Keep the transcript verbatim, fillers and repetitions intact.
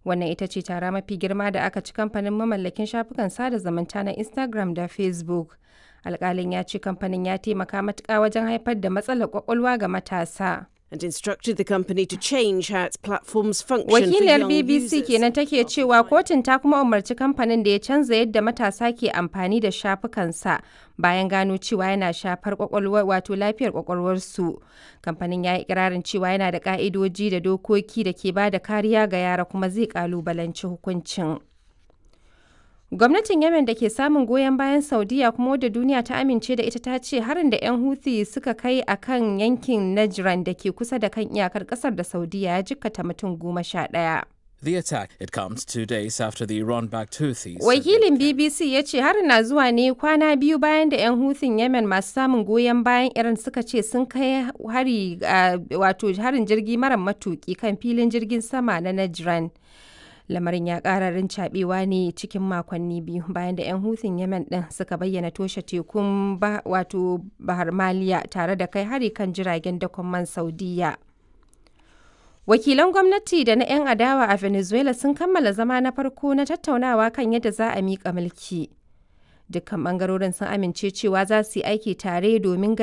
Wannan ita ce tara mafi girma da aka ci kamfanin mamallakin shafukan sada zumunta na Instagram da Facebook. Alkalin ya ce kamfanin ya taimaka matuƙa wajen haifar da matsalar kwakwalwa ga matasa. And instructed the company to change how its platforms function for Wakiliyar young B B C users. kenan take cewa kotun ta kuma umarci kamfanin da ya canza yadda matasa ke amfani da shafukansa bayan gano cewa yana shafar kwakwalwar, wato lafiyar kwakwalwarsu. Kamfanin ya yi ikirarin cewa yana da ka'idoji da dokoki da ke ba da kariya ga yara, kuma zai kalubalanci hukuncin. Gwamnatin Yemen da ke samun goyon bayan Saudiya kuma wadda duniya ta amince da ita ta ce harin da 'yan Houthi suka kai a kan yankin Najran da ke kusa da kan iyakar kasar da Saudiya ya jikkata mutum goma sha ɗaya. The attack, it comes two days after the Iran-backed Houthis said Wakilin B B C ya ce harin na zuwa ne kwana biyu bayan da 'yan Huthin Yemen masu samun goyon bayan Iran suka ce sun kai hari, ah, wato harin jirgi mara matuki kan filin jirgin sama na Najran. Lamarin ya ƙara rincaɓewa ne cikin makonni biyu bayan da 'yan Huthin Yemen ɗin suka bayyana toshe tekun, wato Bahar Maliya, tare da kai hari kan jiragen dakon man Saudiya. Wakilan gwamnati da na 'yan adawa a Venezuela sun kammala zama na farko na tattaunawa kan yadda za a miƙa mulki. Dukkan ɓangarorin sun amince cewa za su yi aiki tare domin ganin